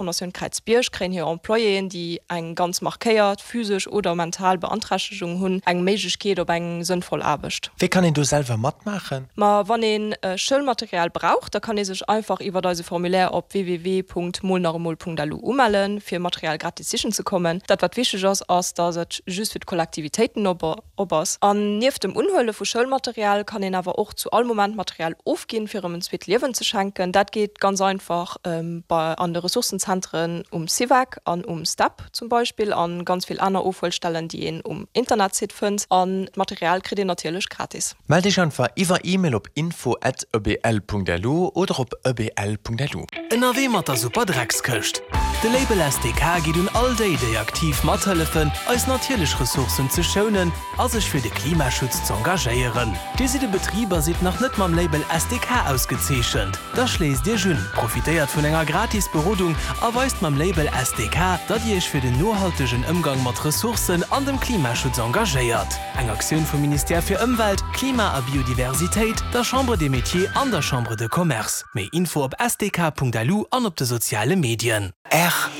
Fondation Kräizbierg kréien hir Employéen, déi eng ganz markéiert physesch oder mental Beanträchtegung hunn, eng Méiglechkeet op eng sënnvoll Aarbecht. Wéi kann een do selwer matmaachen? Ma wann ee Schoulmaterial brauch, da kann ee sech einfach iwwert eise Formulaire op www.molnachemol.lu umellen, fir Material gratis sichen ze kommen. Dat wat wichteg ass, ass datt et just fir d'Kollektivitéiten op ass. An nieft dem Unhuele vu Schoulmaterial kann een awer och zu all Moment Material ofginn, fir erëm en zweet Liewen ze schenken. Dat geet ganz einfach bei an de Ressourcenzentren um CIVEC an um STEP zum Beispill an ganz vill aner Ofhuelstellen, déi een um Internetsite fënnt. An d'Material kritt een natierlech gratis. Mellt Iech einfach iwwer E-Mail op info@ebl.lu oder op ebl.lu. Ënnerwee mat der Superdreckskëscht. De Label SDK geet un all déi, déi aktiv mathëllefen, eis natierlech Ressourcen ze schounen a sech fir de Klimaschutz z'engagéieren. Dir sidd e Betrib a sidd nach net mam Label SDK ausgezeechent? Da schléisst Iech un, profitéiert vun enger gratis Berodung a weist mam Label SDK, datt Dir Iech fir den nohaltegen Ëmgang mat Ressourcen an dem Klimaschutz engagéiert. Eng Aktioun vum Ministère fir Ëmwelt, Klima a Biodiversitéit, der Chambre des Métiers an der Chambre de Commerce. Méi Info op sdk.lu an op de soziale Medien. R.